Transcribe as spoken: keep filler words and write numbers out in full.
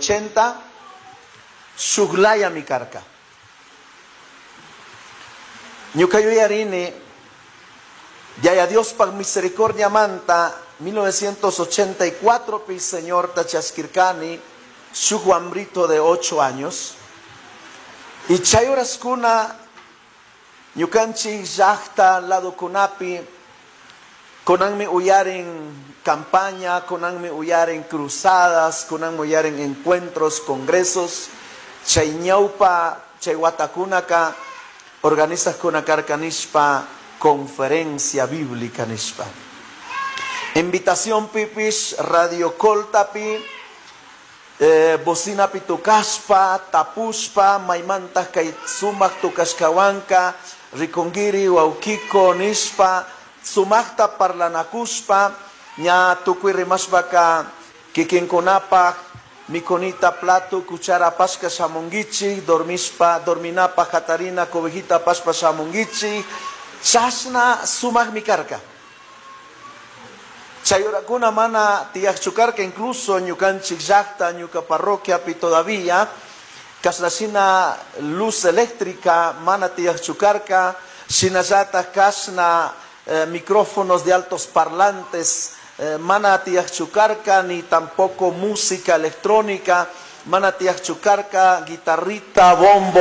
ochenta shuklayami karka. Ñuka yuyarini Yaya Diospaj misericordiamanta mil novecientos ochenta y cuatropi Señorta chaskirkani shuk wambrito de ocho años y chay horaskuna ñukanchik llaqta ladokunapi kunanmi uyarin campaña, kunanmi uyarin cruzadas, kunanmi uyarin encuentros, congresos, chay ñawpa, chay watakunaka organizajkuna karka nishpa conferencia bíblica nishpa. Invitación pipish Radio Coltapi, eh, bocinapi tukashpa, tapushpa, maymanta kay sumak tukashkawanka, rikungiri waukiko nishpa, sumakta parlanakushpa, ña tukuy rimashpaka kikinkunapaj mikunita plato cuchara pashka shamunguichi, dormishpa, dorminapa jatarina cobijita pashpa shamunguichi, chashna sumakmi karka. Chay horakuna mana tiyaqchu karka, incluso ñukanchik llaqta, ñuka parroquiapi todavía, kashnashina luz eléctrica mana tiyaqchu karka, shinallata kashna, eh, micrófonos de altos parlantes, eh, mana tiyaqchu karka, ni tampoco música electrónica, mana tiyaqchu karka, guitarrita, bombo,